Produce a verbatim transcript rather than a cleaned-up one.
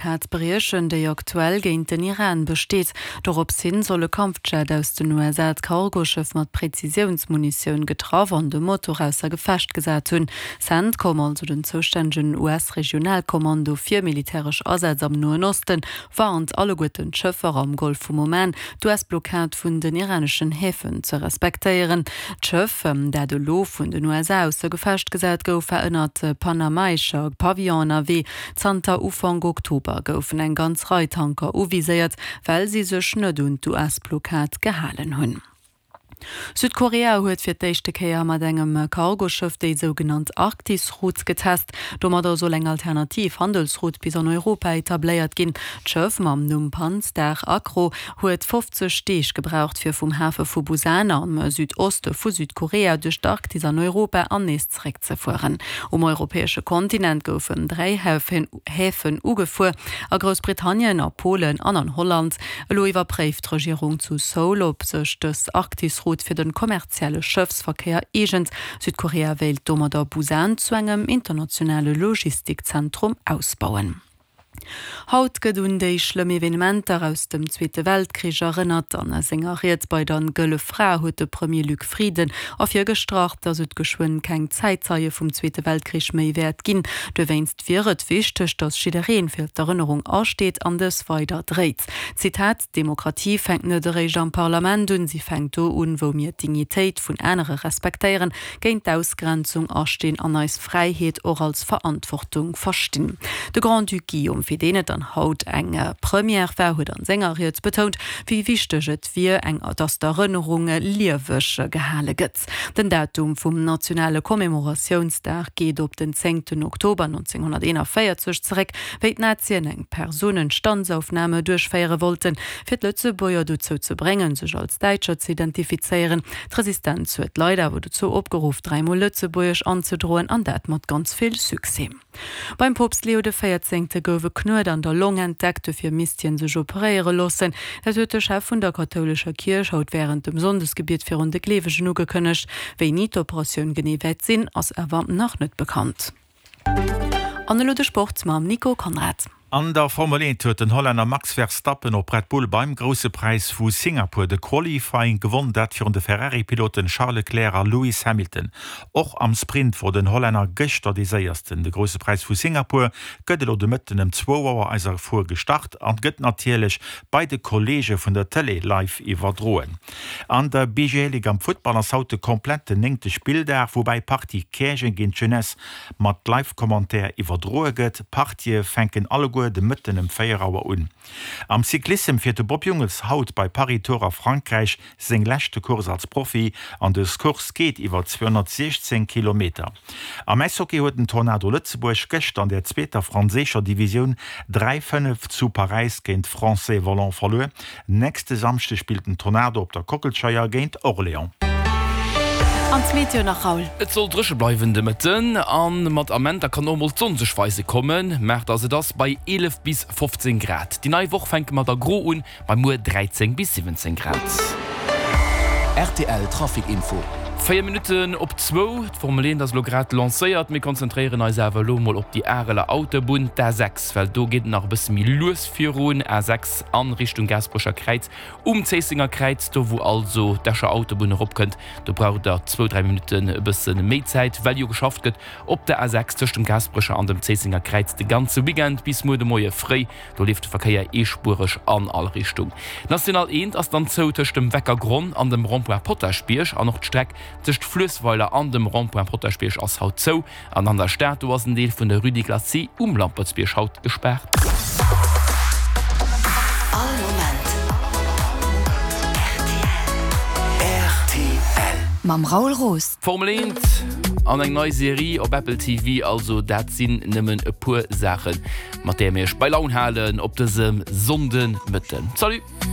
Blockad briechen, déi aktuell géint den Iran besteet. Dorops hin soll e Kampfjet aus den U S A d'Cargoschëff mat Präzisiounsmunitioun getraff an de Motor ausser Gefecht gesat hunn. CENTCOM, also den zoustännegen U S-Regionalkommando fir militäresch Asätz am Noen Osten, warnt alleguerten d'Schëffer am Golf vum Oman, d'U S-Blockad vun den iraneschen Häfen ze respektéieren. D'Schëff, dat elo vun den U S A ausser Gefecht gesat gouf, war ënnert panamaescher Pavillon ënnerwee. Zanter Ufank Oktober goufen eng ganz Rei Tanker uviséiert, well si sech net un d'U S-Blockad gehalen hunn. Südkorea huet fir d'éischte Kéier mat engem Cargoschëff déi sougenannt Arktisroute getest. Domadder soll eng alternativ Handelsroute bis an Europa etabléiert ginn. D'Schëff mam Numm Pan Star Acro huet fofzeg Deeg gebraucht, fir vum Hafe vu Busan am Südoste vu Südkorea duerch d'Arktis an Europa an nees zeréckzefueren. Um europäesche Kontinent goufen dräi Häfen ugefuer, a Groussbritannien, a Polen an an Holland. Elo iwwerpréift d'Regierung zu Seoul, ob sech dës Arktisroute fir de kommerzielle Schëffsverkéier eegent. Südkorea wéilt domadder Busan zu engem internationale Logistikzentrum ausbauen. Haut gëtt un déi schlëmm Evenementer aus dem Zweete Weltkrich erënnert. An senger Ried bei der Gëlle Fra huet de Premier Luc Frieden ervirgestrach, datt et geschwënn keng Zäitzeie vum Zweete Weltkrich méi wäert ginn. Dowéinst wier et wichteg, datt jidderee fir d'Erënnerung asteet an dës weider dréit. Zitat: Demokratie fänkt net eréischt am Parlament un, si fänkt do un, wou mir d'Dignitéit vun anere respektéieren, géint d'Ausgrenzung astinn an eis Fräiheet och als Verantwortung verstinn. De Grand-Duc Guillaume, fir deen et dann haut eng Première war, huet an senger Ried betount, wéi wichteg et wier, eng datt d'Erënnerung lieweg gehale gëtt. Den Datum vum nationale Commemoratiounsdag geet op den zéngten Oktober nonzénghonnerteenanvéierzeg zeréck, wéi d'Nazien eng Personenstandsaufnahme duerchféiere wollten, fir d'Lëtzebuerger dozou ze bréngen, sech als Däitscher ze identifizéieren. D'Resistenz huet d'Leit awer dozou opgeruff, dräimol Lëtzebuergesch anzedroen, an dat mat ganz vill Succès. Beim Poopst Leo de Véierzéngte gouf e Knuet an der Long entdeckt, dofir misst hien sech operéiere loossen. Dat huet de Chef vun der kathoulescher Kierch haut wärend dem Sonndesgebiet virun de Gleewegen ugekënnegt. Wéini d'Operatioun genee wäert sinn, ass awer nach net bekannt. An elo de Sport mam Nico Konrad. An der Formel eent huet den Hollänner Max Verstappen op Red Bull beim Grousse Präis vu Singapur de Qualifying gewonn, dat virun de Ferrari-Piloten Charles Leclerc a Lewis Hamilton. Och am Sprint wor den Hollänner gëschter dee Séiersten. De Grousse Präis vu Singapur gëtt elo de Mëtten ëm zwou Auer eiser Fuer gestart an gëtt natierlech bei de Kolleege vun der Tëlee live iwwerdroen. An der B G L Ligue am Futtball ass haut de kompletten néngte Spilldag, woubäi d'Partie Käerjeng géint d'Jeunesse mat Live-Commentaire iwwerdroe gëtt. D'Partië fänken alleguer de Mëtten ëm véier Auer un. Am Cyclissem fiert de Bob Jungels haut bei Paris-Tours a Frankräich seng leschte Course als Profi an dës Course geet iwwer zweehonnertsiechzéng Kilometer. Am Äishockey huet den Tornado Lëtzebuerg gëschter an der zweeter franséischer Divisioun dräi, fënnef zu Paräis géint Français Volants verluer. Nächste Samschde spillt den Tornado op der Kockelscheier géint Orléans. An d'Meteo nach, Raoul. Et soll dréche bleiwen de Mëtten an mat Amenter kann och mol d'Sonn sech weise kommen. Maacht ass et ass bei eelef bis fofzéng Grad. Déi nei Woch fänke mer da gro un, bei muer dräizéng bis siwwenzéng Grad. R T L Trafic Info. Véier Minutten op zwou, d'Formel eent ass elo grad lancéiert. Mir konzentréieren eis awer elo mol op déi Areler Autobunn, d'A sechs, well do geet et nach e bësse méi lues virun. A sechs an Richtung Gaasperecher Kräiz um Zéissenger Kräiz, do wou also d'Escher Autobunn eropkënnt, do braucht der zwou, dräi Minutten e bësse méi Zäit, well jo geschafft gëtt op der A sechs tëscht dem Gaasperecher an dem Zéissenger Kräiz de ganze Weekend bis muer de Moie fréi. Do leeft de Verkéier eespuereg an all Richtung. D'National eent ass dann zou tëscht dem Weckergronn an dem Rond-point Potaschbierg an och d'Streck tëscht Fluessweiler an dem Rond-point Potaschbierg ass haut zou. An an der Stad, do ass en Deel vun der Rue des Glacis um Lampertsbierg haut gespaart. All Moment R T L. R T L. Mam Raoul Roos. Formel eent an eng nei Serie op Apple T V, also dat sinn nëmmen e puer Saachen, mat deene mir iech bei Laun halen op dësem Sonndemëtten. Salut!